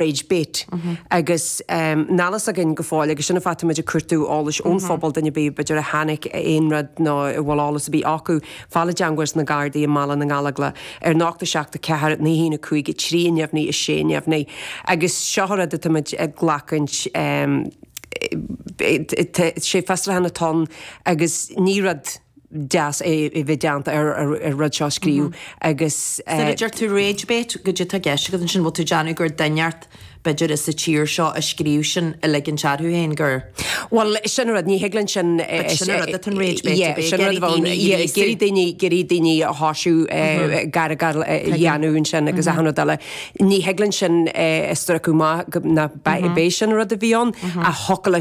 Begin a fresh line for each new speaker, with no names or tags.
Rage Bait agus níl a fhios againn go fóill agus sin an fáth táimid ag cuartú eolais ón phobal, duine ar bith b'fhéidir a chonaic aon rud nó a bhfuil eolas ar bith acu, fáil i dteangmháil leis na Gardaí i mBaile na nGallóglach ar 0 7 4 9 1 5 3 neamhní 6 neamhní agus seo an rud atáimid ag glacaint sé fiosrúchán atá ann agus ní rud deas é a bheith déanta ar an rud seo a scríobh agus.
Nuair a deir tú rage bait, goidé atá i gceist agat ansin, bhfuil tú ag déanamh gur duine inteacht b'fhéidir sa tír seo a scríobh sin a ligint orthu féin gur.
Bhuel, sin an rud, ní thig linn sin.
But sin an rud atá an rage bait,
Yeah, sin an rud a bheadh ann. Yeah, ag iarraidh daoine, ag iarraidh daoine a thoisiú gargáil a dhéanamh ansin agus achan rud eile. Ní thig linn sin a stróiceadh amach go, ná b'é sin an rud a bhí ann ach thiocfadh leis.